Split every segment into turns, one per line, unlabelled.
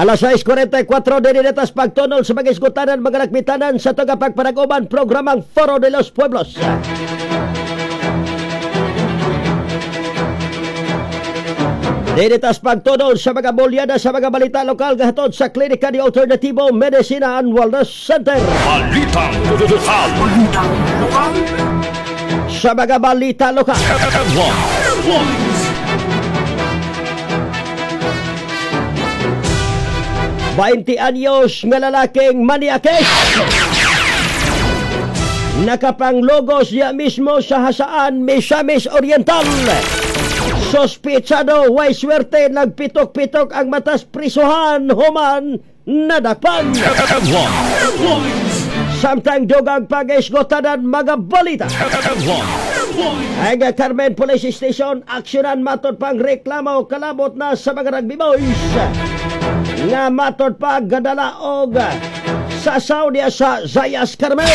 Alas 6:44 dinitas pagtunol sa mga isgutanan, mga lakmitanan sa tagapagpanaguban programang Foro de los Pueblos. Dinitas pagtunol sa mga bolyada sa mga balita lokal gahatod sa Klinika de Alternativo Medicina and Wellness Center.
Balitang Lokal.
Balitang Lokal.
Sa mga balita lokal.
Headlines.
20 anyos nga lalaking maniakes. Nakapanglogos niya mismo sa Hasaan, Misamis Oriental. Sospitsado, way swerte, nagpitok-pitok ang matas prisuhan, human, nadakpan.
Headlines.
Samtang dugang pag-isgotanan mga balita.
Headlines.
Ang Carmen Police Station, aksyonan matod pang reklamo kalabot na sa mga rugby boys. Nga matod pa gadala og sasaw niya sa Zayas Carmen.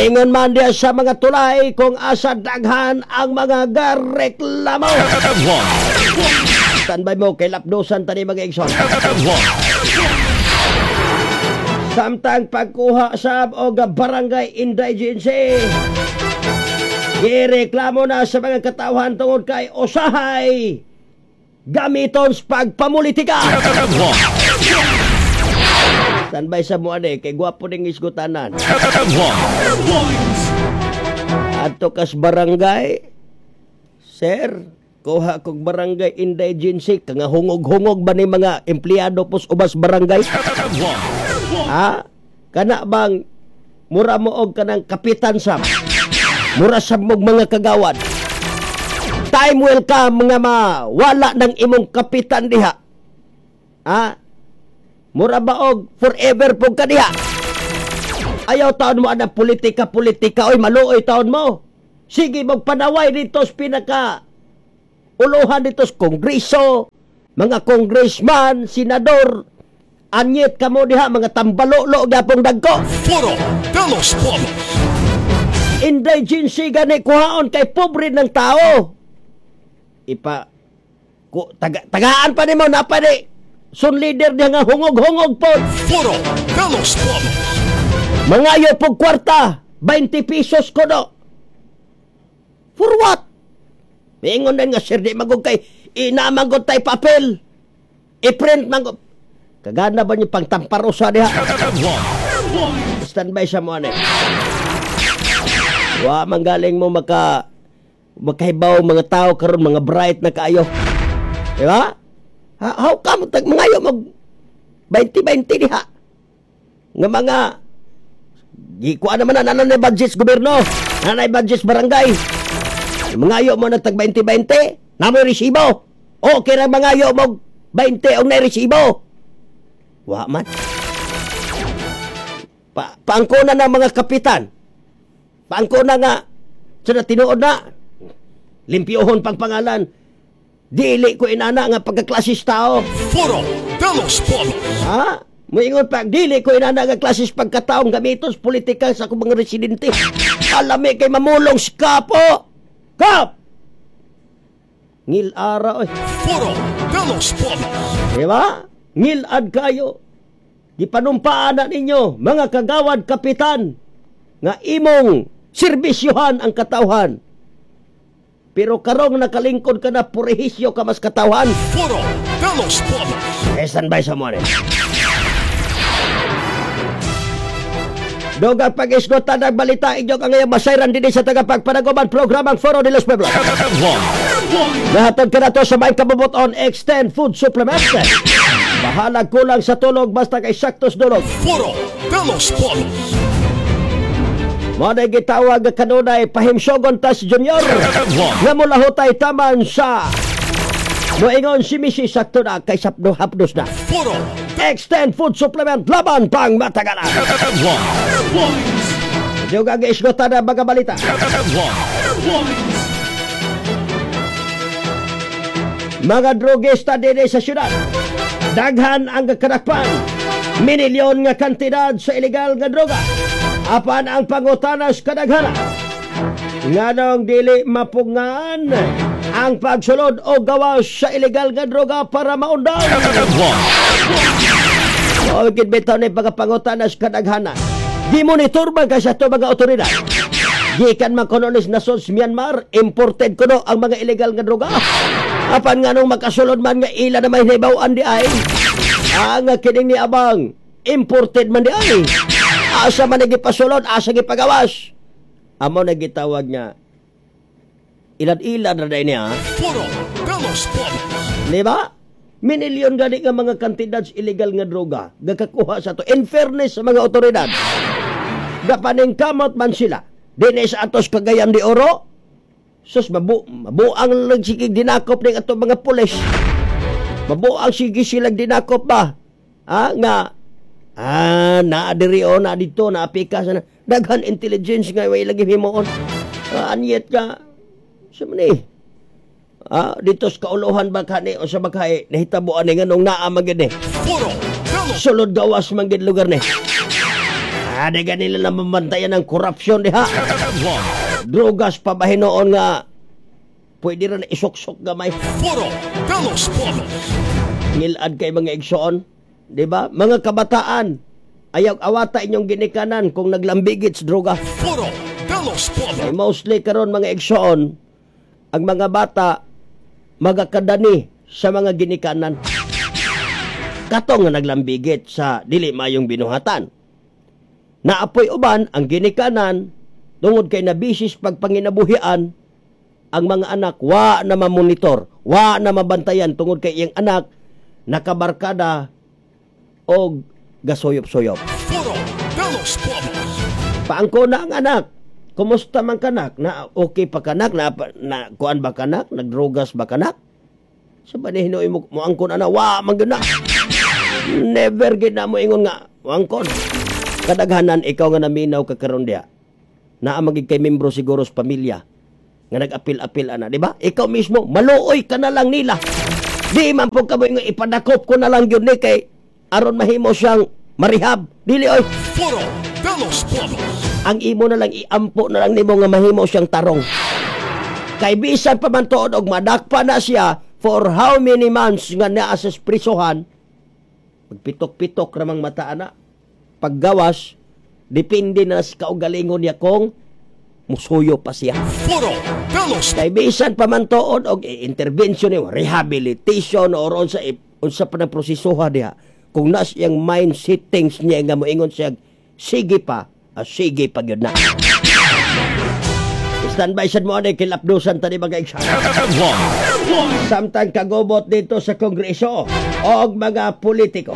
Ingon man diya sa mga tulay kung asa daghan ang mga gareklamo.
Headlines.
Standby mo kay lapdosan tani mga igsoon.
Headlines.
Samtang pagkuha sab og barangay indigency, gireklamo na sa mga katawhan tungod kay usahay gamiton sa pagpamulitika.
Headlines.
Standby sa mo ani kay gwapo ning isgutanan.
Headlines.
Adto kas barangay, sir, kuha kog barangay indigency nga hungog-hungog ba ni mga empleyado pos ubas barangay?
Headlines.
Ha? Kana bang mura mo og kanang kapitan sab? Mura sab mog mga kagawad. Time will come nga mawala ng imong kapitan diha. Ha? Mura ba og forever pug ka diha? Ayaw taon mo anang politika politika oy maluoy taon mo. Sige magpanaway dito sa pinaka uluhan dito sa kongreso, mga congressman, senador, anyet kamo diha mga tambalolo gyapong dagko.
Foro de los Pueblos.
Indigency gani kuhaon kay pobre ng tao. Ipa ku, tagaan pa nimo na pa ni sun leader diha nga hungog-hungog po.
Foro de los Pueblos.
Mangayo pog kwarta, 20 pesos kono. For what? Mingon din nga sir di magog kay inamangod tay papel. I-print mangod. Kagana ba niyo pang tamparosa diha?
Headlines.
Standby sa mo ani. Wa manggaling mo makahibaw mga tao karon mga bright na kaayo. Di ba? How come tag mangayo mag 20-20 diha? Nga mga gikuha naman na nanay budget sa gobyerno, nanay budget sa barangay. Mangayo mo na tag 20-20, namoy resibo. Okay ra mangayo mo 20 og nay resibo. Wa man. Paangkona na mga kapitan. Paangkona nga sa tinuod na limpyohon pang pangalan. Dili ko inana nga pagkaklasis tao.
Foro de los Pueblos.
Ha? Moingon pa, dili ko inana nga klasis pagkataong gamiton sa politika sa akong mga residente. Alami kay mamulong si Kapo. Kap! Ngil-ara oy.
Foro de los Pueblos.
Diba? Ngilad kayo. Gipanumpaan na ninyo, mga kagawad kapitan, nga imong serbisyuhan ang katawhan. Pero karong nakalingkod ka na, purihisyo ka mas katawhan.
Foro de los Pueblos.
Eh, standby sa mo. Dogang pag-isgotan ng balita inyo ka ngayon masayran din sa tagapagpanaguman programang Foro de los Pueblos.
Headlines.
Nahatod ka na to sa may kabubot on X10 Food Supplement. Bahalag kulang sa tulog basta kay saktos dulog.
Foro de los Pueblos.
Mo na gitawag kanunay pahimsyogon tas Junior.
Headlines.
Nga mulahutay taman sa moingon si Missy sakto na kay sapdo hapdos na.
Foro
X10 Food Supplement laban pang matagalan.
Headlines.
Juga giisgotan ang mga balita.
Headlines.
Mga drogista dinhi sa syudad. Daghan ang karakpan. Minilyon nga kantidad sa ilegal nga droga. Apan ang pangutanas kadaghana. Nganong dili mapungan Ang pagsulod o gawas sa ilegal nga droga para maundang.
One.
O gid bitaw ni pagapangutana sa kadaghanan. Gimonitor man kay sa ato mga otoridad. Gikan man kuno ni nasod sa Myanmar, imported kuno ang mga ilegal nga droga. Apan nga nung makasulod man nga ila na may nahibaw-an di ay. Ang kining ni abang imported man di ay. Asa man gipasulod, asa gipagawas. Amo na gitawag nga ilan-ilan na dahil niya.
Foro de los Pueblos.
Di ba? Minilyon gani nga mga kantidad sa illegal nga droga gakakuha sa to. In fairness sa mga otoridad, gapaningkamot man sila. Dinhi sa atos Cagayan de Oro, sus mabuang lang sige dinakop ning ato mga pulis. Mabuang sige silang dinakop ba? Ah, nga naa diri o naa dito, naa pika sa daghan intelligence nga way lagi himuon. Anyet ka sa man eh. Dito sa kauluhan ba kani o sa bakay nahitabo ani nganong naa man gid ni.
Foro de los
Sulod gawas man gid lugar ni. Di ganila na mabantayan ang korupsyon diha.
One.
Drogas pa ba hinuon nga pwede ra na isuksok gamay.
Foro de los Pueblos.
Ngilad kay mga igsoon, di ba? Mga kabataan, ayaw awata inyong ginikanan kung naglambigit sa droga.
Foro de los Pueblos.
Kay mostly karon mga igsoon, ang mga bata magakadani sa mga ginikanan. Kato nga naglambigit sa dili mayong binuhatan. Naapoy uban ang ginikanan tungod kay nabisis pagpanginabuhian ang mga anak wa na mamonitor, wa na mabantayan tungod kay iyang anak nakabarkada og gasuyop-suyop.
Foro de los Pueblos.
Paangko na ang anak. Kumusta man kanak? Na okay pa kanak? Na kuan ba kanak? Nagdrogas ba kanak? Sa ba ni hinuoy mo moangkon ana wa man gyud na. Never gid na mo ingon nga moangkon. Kadaghanan ikaw nga naminaw ka karon diha. Naa magig kay membro siguro sa pamilya nga nag-apil-apil ana, di ba? Ikaw mismo maluoy ka na lang nila. Di man po ka mo ingon ipadakop ko na lang gyud ni kay aron mahimo siyang marehab. Dili oy.
Foro de los Pueblos.
Ang imo na lang iampo na lang nimo nga mahimo siyang tarong. Kay bisan pa man tuod og madakpa na siya for how many months nga naa sa prisuhan, magpitok-pitok ramang mata ana. Paggawas, depende na sa kaugalingon niya kung musuyo pa siya.
Foro de los
Kay bisan pa man tuod og intervention ni rehabilitation or unsa pa ng prosesoha diha. Kung nas iyang mind settings niya nga moingon siya sige pa, sige pa gyud na. Standby sad mo ani kilapdusan tani mga igsoon.
One.
Samtang kagubot dito sa Kongreso og mga politiko,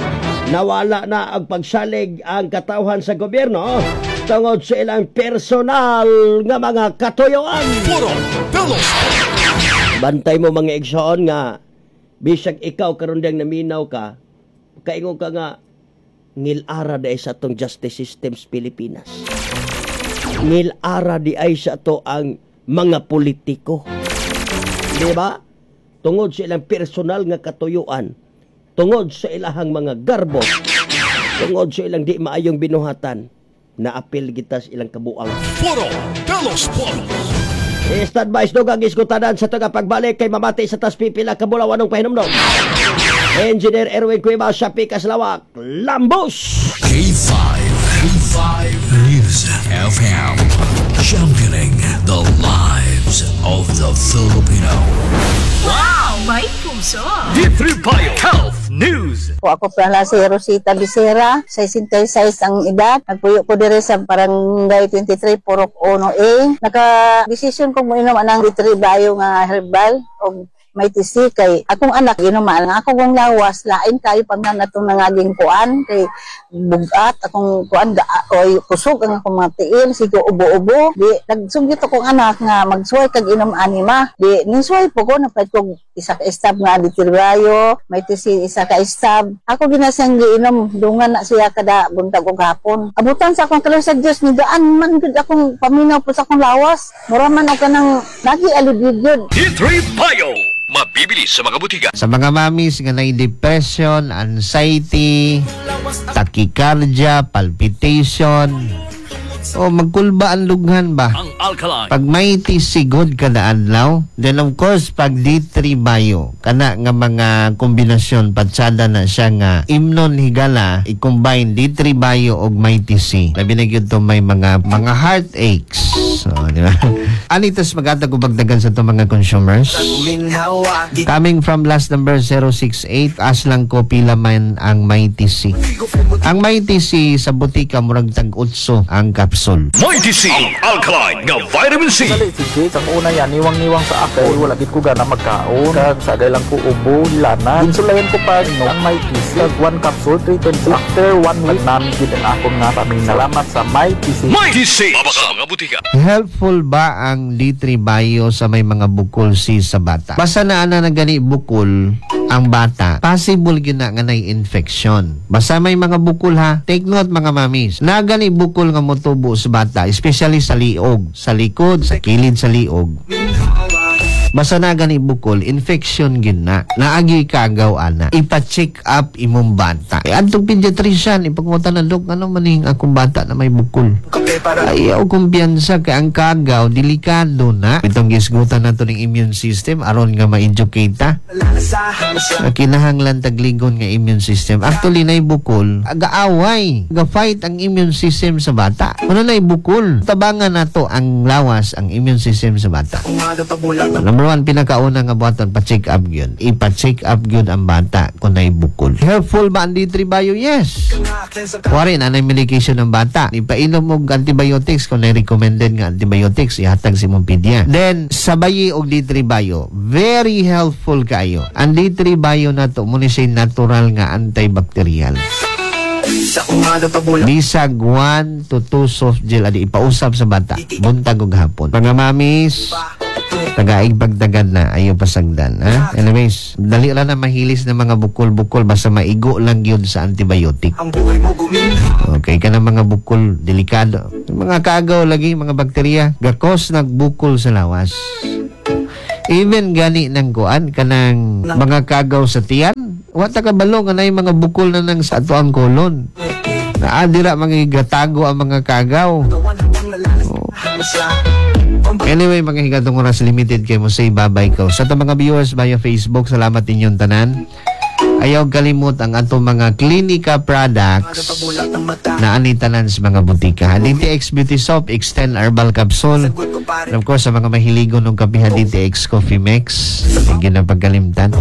nawala na ang pagsalig ang katawhan sa gobyerno tungod sa ilang personal nga mga katuyuan.
Foro de los
Bantay mo mga igsoon nga bisag ikaw karon diyang naminaw ka, kaingon ka nga ngilara di ay sa atong justice system sa Pilipinas. Ngilara di ay sa ato ang mga politiko. Di ba? Tungod sa ilang personal nga katuyuan, tungod sa ilahang mga garbo, tungod sa ilang di maayong binuhatan, naapil kita sa ilang kabuang.
Foro de los Pueblos.
Stand by dugang iskutanan sa taga pagbalik kay mamati sa tas pipila ka bulawanong pahinumdom. Engineer Erwin Cueva sa Pikas Lawak, Lambos!
K5, K5 News FM, championing the lives of the Filipino.
Wow! May puso!
D3 Bio Health News.
Po ako pala si Rosita Becerra, 66 ang edad. Nagpuyo ko dire sa Barangay 23, Purok 1A. Naka-desisyon ko mo inom anang D3 Bio nga herbal og may tisi kay akong anak inuman ang akong kong lawas lain kayo pamyan natong nangaging kuan kay bugat akong kuan oy kusog ang akong mga tiil sigo ubo-ubo. Di nagsunggit akong anak nga magsuway kag inom anima. Di nisuway po ko, napait ko isa ka stab nga ditirbayo may tisi isa ka stab ako ginasang giinom dungan na siya kada buntag ug hapon. Abutan sa akong kalor sa Dios ni gaan man gud akong paminaw po sa akong lawas, mura man og kanang nagi alibid gyud.
D3 Bio. Mabibili sa mga butika.
Sa mga mamis nga nay depression, anxiety, tachycardia, palpitation, O magkulba ang lughan ba?
Ang alkaline.
Pag Mighty C, good kada adlaw. Then of course, pag D3 Bio, kana nga mga kombinasyon, patsada na siya nga imnon higala, i-combine D3 Bio og Mighty C. Labi na gyud to may mga heartaches. So, di ba? Anitas magatag og bagdagan sa to mga consumers. Coming from last number 068, aslang ko pila man ang Mighty C. Ang Mighty C sa butika murag tag 8 ang capsule.
Mighty C, alkaline nga vitamin C.
Dali sige, sang una yan, niwang-niwang sa ako, wala gid ko gana magkaon. Kag sagay lang ko ubo, hilana. Ginsulayan ko pa no, ang Mighty C. Kag one capsule, 320. After one week, nami gid ang akong nga paminaw. Salamat sa Mighty C.
Mighty C, sa mga butika.
Helpful ba ang D3 Bio sa may mga bukol si sa bata? Basta na ana na gani bukol ang bata, possible gyud na nga nay infection. Basta may mga bukol ha, take note mga mamis. Na gani bukol nga motubo sa bata, especially sa liog, sa likod, sa kilid sa liog. Basta na gani bukol, infection gyud na. Naagi kagaw ana. Ipa-check up imong bata. E adtong pediatrician, ipagmutan na, "Dok, ano man ning akong bata na may bukol?" Ayaw kumpiyansa kay ang kagaw, delikado na. Itong gisgutan nato ning immune system aron nga ma-educate ta. Kinahanglan tagligon nga immune system. Actually, nay bukol, agaaway, ga-fight ang immune system sa bata. Ano nay bukol? Tabangan nato ang lawas, ang immune system sa bata. Number one, pinakauna nga buhaton, pa-check up yun. Ipa-check up yun ang bata kung nay bukol. Helpful ba ang D3 Bio? Yes. Kuwari, na medication ng bata. Ipainom og antibiotics kung na-recommended nga antibiotics, ihatag si mong pedia. Then, sabayi og D3 Bio, very helpful kayo. Ang D3 Bio na to, muna siya natural nga antibacterial. Bisag 1 to 2 soft gel adi ipausap sa bata buntag ug hapon. Mga mamis, tagaig pagtagad na, ayaw pasagdan, ha? Anyways, dali ra na mahilis na mga bukol-bukol basta maigo lang yun sa antibiotic. Okay ka na mga bukol, delikado. Mga kagaw lagi, mga bakterya, gakos nagbukol sa lawas. Even gani ng kuan kanang mga kagaw sa tiyan, wa ta kabalo nga nay mga bukol na nang sa ato ang kolon. Naa dira mga gatago ang mga kagaw. Oh. Anyway, mga higatong oras limited kay mo say bye-bye ko. Sa atong mga viewers via Facebook, salamat inyong tanan. Ayaw kalimot ang atong mga Klinika products na ani tanan sa mga butika. DTX Beauty Soap, Extend Herbal Capsule. And of course, sa mga mahiligon ng kapihan, DTX Coffee Mix. Hindi na pagkalimtan.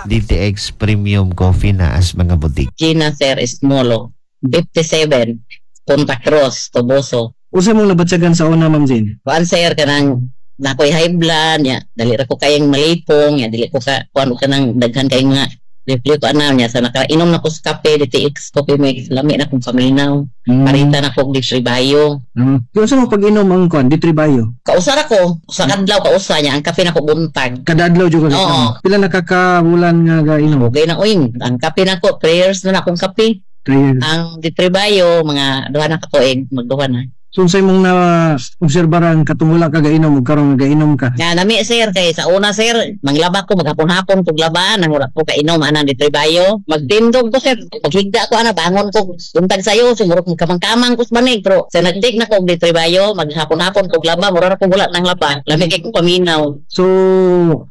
DTX Premium Coffee na as mga butika.
Gina Sir Esmolo, 57, Punta Cruz, Toboso.
Usa mong nabatyagan sa una, Ma'am Jane?
Kuan sir, kanang nakoy high blood nya, dali ra ko kayang malipong nya, dili ko ka kuan kanang daghan kayong mga review ko ana niya sa nakainom na ko sa kape DTX Coffee Mix, lami na kong paminaw. Parita na ko og Bio.
Unsa mo pag-inom ang kuan D3 Bio?
Kausa ra ko, usa kadlaw kausa niya ang kape na ko buntag.
Kada adlaw jud ka?
Oo.
Pila na ka ka bulan nga gainom?
Okay na uy, ang kape na ko, prayers na na akong kape.
3 years.
Ang D3 Bio mga duha na ka tuig, magduha na.
So unsay mong na obserbaran katong wala ka gainom ug karon nga gainom ka?
Nga nami sir kay sa una sir, manglaba ko maghapon-hapon kog labaan nang wala ko kainom anang D3 Bio. Magtindog ko sir, paghigda ko ana bangon ko buntag sayo sumurok kamang-kamang ko sa banig pero sa nagtig na ko og D3 Bio, maghapon-hapon kog laba mura ra ko wala nang laba. Lami kay ko paminaw.
So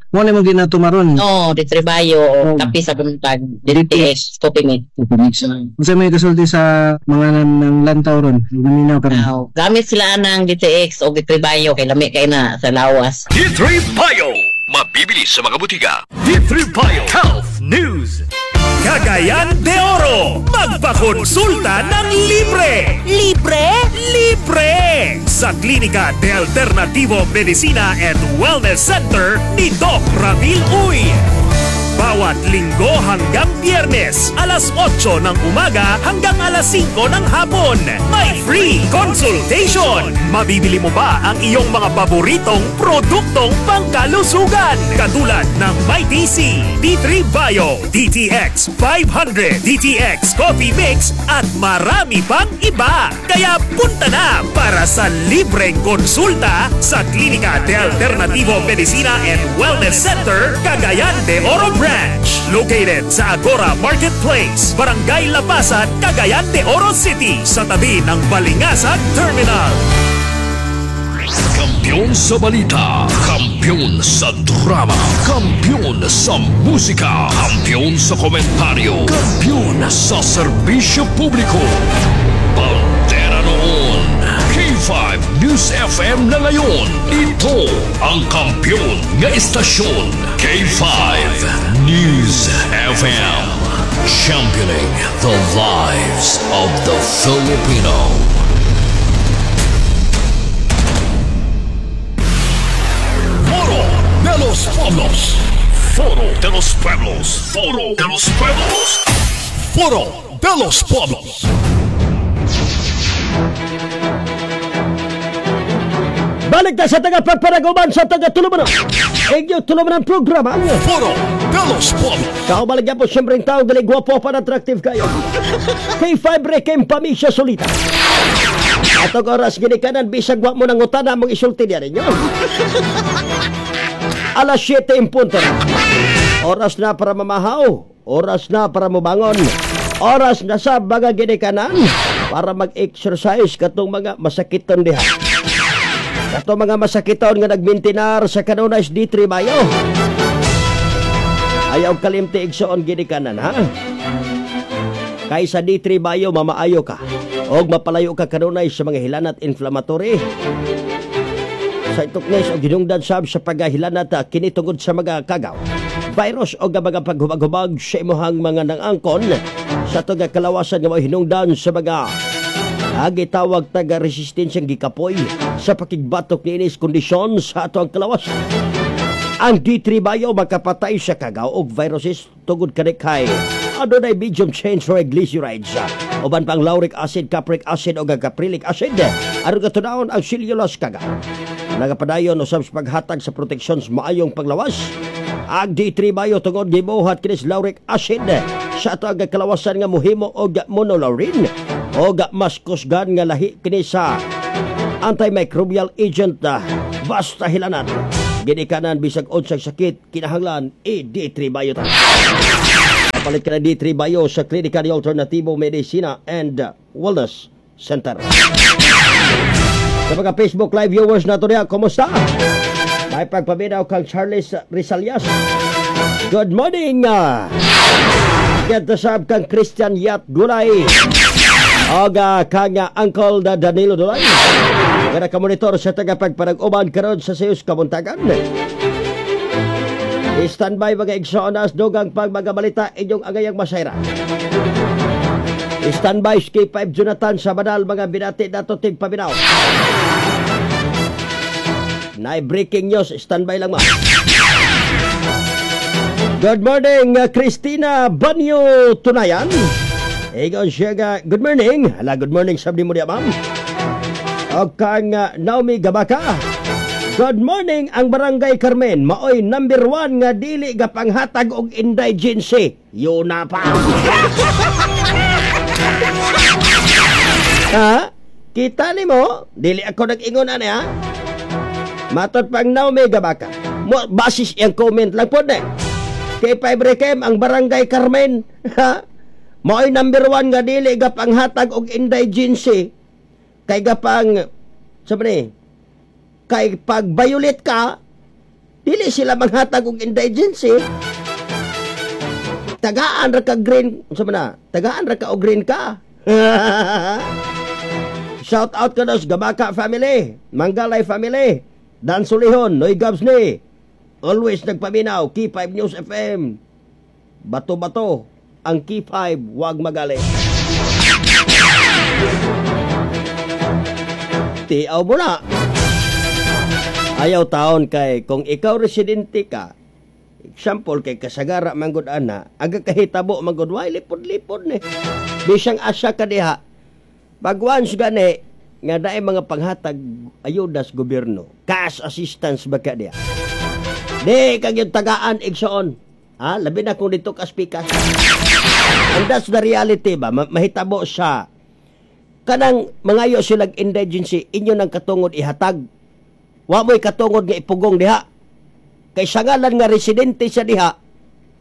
mo na imong ginatumaron?
No, D3 Bio, kape sa buntag, DTX, coffee mix.
Unsay may kasulti sa mga nang lantaw ron? Naminaw karon.
Aw, gamit sila ng DTX o D3 Bio kay lami kay na sa lawas.
D3 Bio, mabibili sa mga butika. D3 Bio Health News.
Cagayan de Oro, magpakonsulta ng libre!
Libre?
Libre! Sa Klinika de Alternativo Medicina and Wellness Center ni Doc Ramil Uy. Bawat Linggo hanggang Biyernes, alas 8 ng umaga hanggang alas 5 ng hapon. May free consultation! Mabibili mo ba ang iyong mga paboritong produktong pangkalusugan? Katulad ng Mighty C, D3 Bio, DTX 500, DTX Coffee Mix at marami pang iba. Kaya punta na para sa libreng konsulta sa Klinika de Alternativo Medicina and Wellness Center, Cagayan de Oro Branch. Branch. Located sa Agora Marketplace, Barangay Lapasan, Cagayan de Oro City, sa tabi ng Balingasag Terminal.
Kampiyon sa balita, kampiyon sa drama, kampiyon sa musika, kampiyon sa komentaryo, kampiyon sa serbisyo publiko. Bandera noon, K5 News FM na ngayon. Ito ang kampiyon nga istasyon. K5 News FM. Championing the lives of the Filipino. Foro de los Pueblos. Foro de los Pueblos. Foro de los Pueblos. Foro de los Pueblos.
Balik ta sa taga-pagparaguman sa taga-tulumanan. Inyo tulumanan programa.
Foro de los Pueblos.
Kaubalik po siyempre ang tao, dali guwapo pa attractive kayo. K5 Rekem Pamisya Solita. Atong oras ginikanan, bisag wa mo nang utana mong isulti niya ninyo. Alas 7 in punto na. Oras na para mamahaw. Oras na para mubangon. Oras na sa mga ginikanan para mag-exercise katong mga masakiton diha. Katong mga masakiton nga nagmintinar sa kanunay D3 Mayo. Ayaw kalimti igsoon ginikanan, ha? Kay sa D3 Mayo mamaayo ka. Og mapalayo ka kanunay sa mga hilanat inflammatory. Sa ituknes o ginungdan sab sa paghahilanat kini tungod sa mga kagaw, virus o mga paghubag-hubag sa imuhang mga nangangkon sa tuga kalawasan nga mga hinungdan sa mga gitawag taga resistensyang gikapoy sa pakigbatok niinis kondisyon sa ato ang kalawasan. Ang D3 Bio makapatay sa kagaw og viruses tungod kani kay adunay medium chain triglycerides, uban pang lauric acid, capric acid o caprylic acid aron katunawon ang cellulose kagaw. Nagapadayon usab sa paghatag sa proteksyon sa maayong paglawas. Ang D3 Bio tungod gibuhat kini sa lauric acid sa ato ang kalawasan nga mohimo og monolaurin og mas kusgan nga lahi kini sa antimicrobial agent basta hilanat. Ginikanan bisag unsang sakit kinahanglan i D3 Bio ta. Palit ka na D3 Bio sa Klinika de Alternatibo Medicina and Wellness Center. Sa mga Facebook Live viewers nato niya, kumusta? May pagpaminaw kang Charles Rizalias. Good morning! Get the sab kang Christian Yat Gulay. Oga kang Uncle Danilo Dulay. Nga nakamonitor sa tagapagpanag-uban karon sa Seus Kabuntagan. Standby mga igsoon dugang pag mga balita inyong agayang masayra. Standby K5 Jonathan sa banal mga binati dato ting paminaw. Nay breaking news, standby lang ma. Good morning Christina Banyo Tunayan. Egon siya ga, good morning. Hala, good morning sabi mo niya ma'am. O kang Naomi Gabaka. Good morning ang Barangay Carmen. Maoy number 1 nga dili ga panghatag og indigency. Yun na pa. Ha? Kita ni mo? Dili ako nag-ingon ani ha? Matod pang Naomi Gabaka. Mo basis iyang comment lang po na. K5 Rekem ang Barangay Carmen. Ha? Maoy number 1 nga dili ga panghatag og indigency. Kay ga pang sabi ni, kay pag violate ka, dili sila manghatag og indigency. Tagaan ra ka green, sabi na, tagaan ra ka og green ka. Shout out ka sa Gabaka family, Manggalay family, Dan Sulihon, Noy Gabs ni. Always nagpaminaw, K5 News FM. Bato-bato, ang K5, wag magali. Tiaw mo na. Ayaw taon kay kung ikaw residente ka, example kay kasagara manggod ana, aga kahitabo manggod way lipod-lipod ni. Bisang asa ka diha. Pag once gani nga daay mga panghatag ayuda sa gobyerno, cash assistance ba ka diha? Di kag yung tagaan igsoon. Ha, labi na kung dito ka speaker. And that's the reality ba, mahitabo sa kanang mangayo silang indigency, inyo nang katungod ihatag. Wa mo'y katungod nga ipugong diha. Kay sa ngalan nga residente sa diha,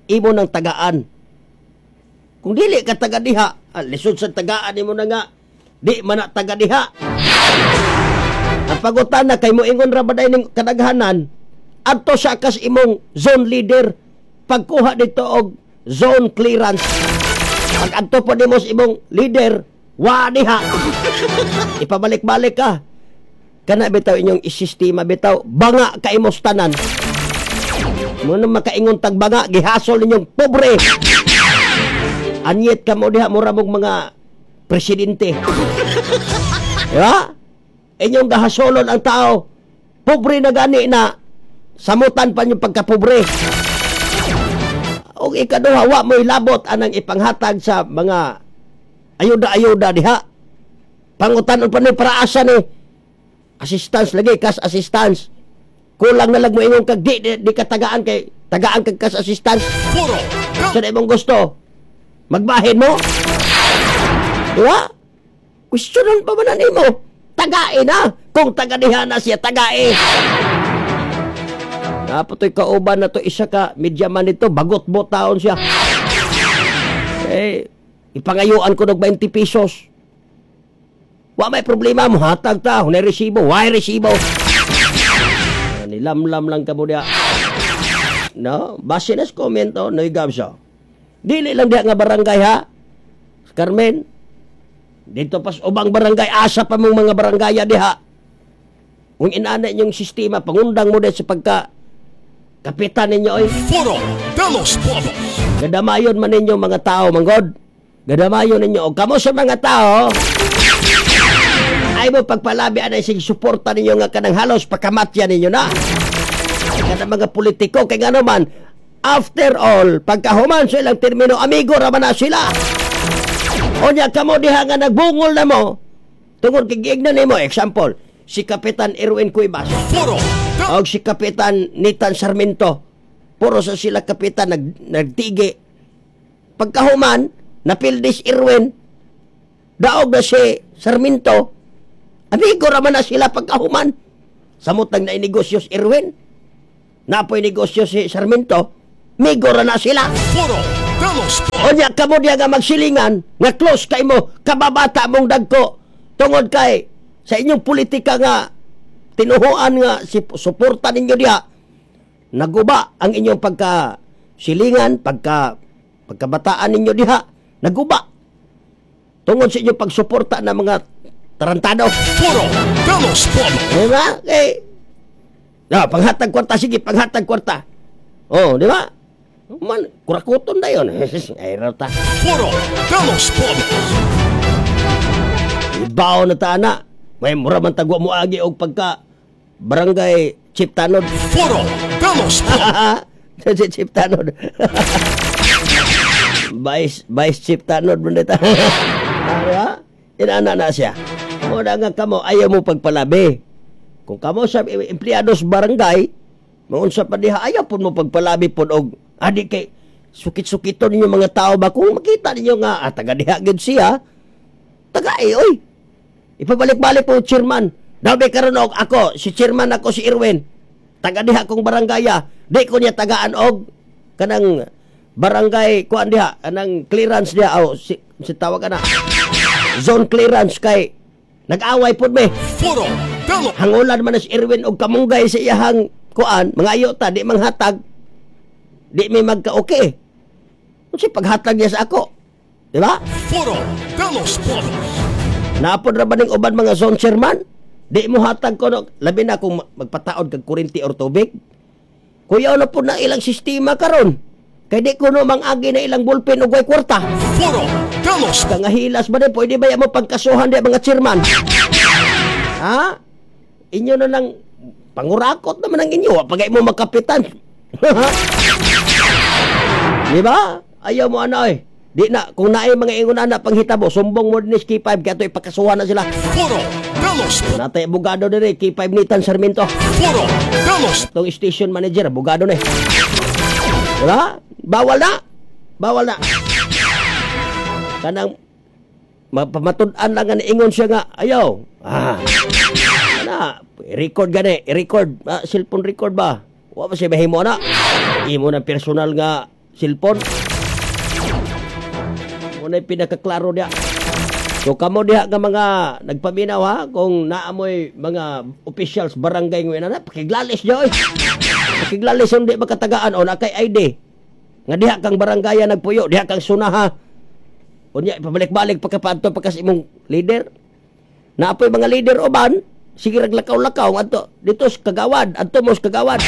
imo ng tagaan. Kung dili ka taga diha, lisod sa tagaan nimo na nga di man na taga diha. Ang pagutana kay mo ingon ra ba day ning kadaghanan, adto sa kas imong zone leader pagkuha dito og zone clearance. Pag adto po nimo sa imong leader, wa diha. Ipabalik-balik ka. Kana bitaw inyong sistema bitaw, banga ka imong tanan. Muna makaingon tag banga, gihasol ninyong pobre. Anyet ka mo diha, mura mong mga presidente. Diba? Inyong gahasolon ang tao. Pobre na gani na samutan pa niyong pagkapobre. O ikaduha, wa mo'y labot anang ipanghatag sa mga ayuda-ayuda diha. Pangutan pa ni para asa ni assistance lagi, cash assistance. Kulang na lang mo ingon kag di ka tagaan kay tagaan kag cash assistance. Sa imong gusto, magbahin mo. Diba? Questionon pa ba na nimo? Tagae na. Kung taga diha na siya, tagae. Napatoy kauban na to isa ka media man nito, bagot bo taon siya. Eh, ipangayuan ko og 20 pesos. Wa may problema mo, hatag ta, hunay resibo, why resibo? Nilamlam lang ka mo diha. No, base na sa komento, Noy Gabso. Dili lang diha nga barangay ha. Carmen, dito pas ubang barangay, asa pa mong mga barangaya diha. Kung inana inyong sistema, pangundang mo diha sa pagka kapitan ninyo oy.
Foro de los Pueblos.
Gadamayon man ninyo mga tao, manggod. Gadamayon ninyo. O kamo sa mga tao, ay mo pagpalabi anay sige suporta ninyo nga kanang halos pakamatya ninyo na. Kanang mga politiko kay ngano man, after all, pagkahuman sa ilang termino, amigo ra man na sila. Onya kamo diha nga nagbungol na mo tungod kay giignan nimo, example, si Kapitan Erwin Cuevas og si Kapitan Nathan Sarmiento, puro sa sila kapitan nagtigi. Pagkahuman, napildis Erwin, daog na si Sarmiento, amigo raman na sila pagkahuman. Samutang na inegosyo si Erwin, napoy negosyo si Sarmiento, migo ra na sila. Onya kamo diha nga magsilingan nga close kay mo kababata mong dagko tungod kay sa inyong politika nga tinuhuan nga si suporta ninyo diha, naguba ang inyong pagka silingan, pagkabataan ninyo diha, naguba tungod sa inyong pagsuporta ng mga tarantado.
Foro de los Pueblos.
Diba? Eh, no, panghatag kwarta, sige, panghatag kwarta. Oh, di ba? Man, kurakuton na yun. Ay, rata.
Foro de los Pueblos.
Ibaw na ta na. May mura man tagwa mo agi og pagka barangay Chief Tanod.
Foro de los Pueblos.
Si Chief Tanod. Vice Chief Tanod man dita. Diba? Inana na siya. Muna nga kamo, ayaw mo pagpalabi. Kung kamo sa empleyado sa barangay, maunsa pa diha, ayaw po mo pagpalabi po og adi kay sukit-sukiton ninyo mga tao ba? Kung makita ninyo nga, taga diha gid siya, taga oy. Ipabalik-balik po chairman. Dabi karon og ako, si chairman ako si Erwin. Taga diha kong barangaya, di ko niya tagaan og kanang barangay kuan diha, kanang clearance diha aw si tawag ana. Zone clearance kay nag-away pod me. Hangulan man si Erwin og kamunggay sa iyahang kuan, mga ayo ta di manghatag. Di mi magka-okay. Unsa paghatag niya sa ako? Di ba?
Foro de los Pueblos.
Naapod ra ba ning uban mga zone chairman? Di mo hatag ko no, labi na kung magpataod kag kuryente or tubig. Kuyaw na pod na ilang sistema karon. Kay di kuno mangagi na ilang ballpen og way kwarta.
Foro de los
Kangahilas ba din? Pwede ba mo pagkasuhan di mga chairman? Ha? Inyo na lang pangurakot naman ang inyo. Pagay mo magkapitan. Di ba? Ayaw mo ano eh. Di na, kung naay mga ingon na panghitabo, sumbong mo din ni K5 kaya ito ipakasuhan na sila.
Foro de los
Natay abogado din eh, K5 Nathan Sarmiento.
Foro de los
Itong station manager, abogado na eh. Diba? Bawal na. Bawal na. Kanang matud-an lang nga niingon siya nga, ayaw. Na, record gani, record, cellphone record ba? Wa ba siya mahimo na? Imo na personal nga cellphone. Mao pinakaklaro diha. So kamo diha nga mga nagpaminaw ha, kung naamoy mga officials barangay ngayon na, pakiglalis diha oy. Pakiglalis hindi makatagaan o na kay ID. Nga diha kang barangaya nagpuyo, diha kang sunaha. Unya pabalik-balik pagkapadto pa kas imong leader. Naapoy mga leader uban, sige rag lakaw-lakaw adto dito sa kagawad, adto mo sa kagawad.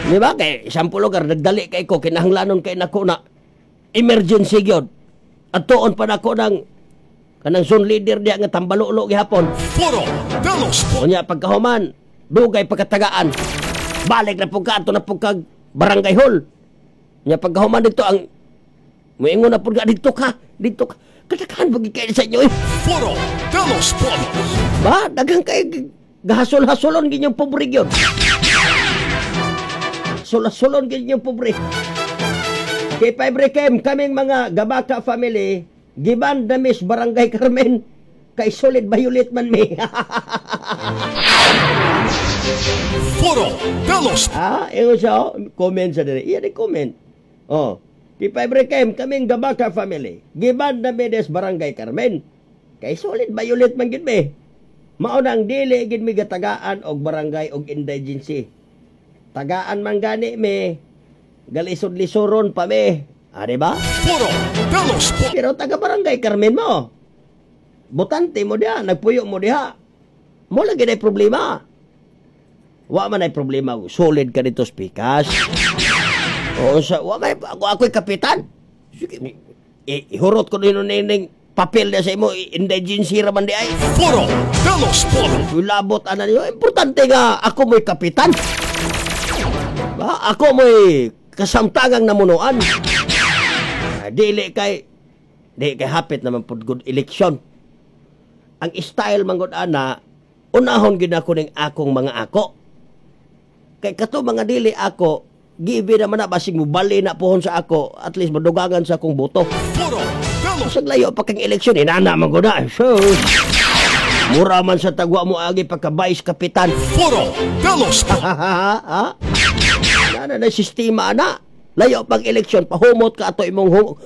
Di ba? Kay sample lugar, nagdali kay ko, kinahanglanon kay nako na emergency gyud. Adtoon pa nako ng kanang zone leader diya nga tambalulo gihapon.
Foro de los
Unya pagkahuman, dugay pagkatagaan. Balik na pud ka ato na pud kag barangay hall. Unya pagkahuman dito ang muingon na pud ka dito ka, dito ka. Kadaghan pag kay sa inyo eh.
Foro de los Pueblos.
Ba, daghang kay gahasol-hasolon ginyong pobre gyud. Hasol-hasolon ginyong pobre. Kay Fibre Kem, kaming mga Gabaka family, giban damis Barangay Carmen, kay solid violet man mi.
Foro de los
Ah, ingon siya, oh, comment sa dire. Iya di comment. Oh, kay Fibre Kem, kaming Gabaka family, giban damis Barangay Carmen, kay solid violet man gid mi. Mao nang dili gid mi gatagaan og barangay og indigency. Tagaan man gani mi, galisod-lisoron pa mi. Ah, di ba?
Foro de los
Pero taga Barangay Carmen mo. Botante mo diha, nagpuyo mo diha. Mo lagi na problema. Wa man ay problema, solid ka dito spikas. Oo, sa wa man ako ako'y kapitan. Sige, ihurot ko din ning papel na sa imo, indigency ra man di ay.
Foro de los Pueblos.
Labot ana niyo, importante nga ako mo'y kapitan. Ba, ako mo'y kasamtangang namunuan. Ah, dili kay di kay hapit naman pud good election. Ang style man gud ana, unahon gid ako ning akong mga ako. Kay kato mga dili ako, gibi naman na basig mo bali na pohon sa ako, at least madugangan sa akong boto.
Foro de los
Sa layo pa kang eleksyon, inana man gud na. Sus. Mura man sa tagwa mo agi pagka vice kapitan.
Foro de los
Ha? Nana na sistema ana. Layo pag eleksyon, pahumot ka ato imong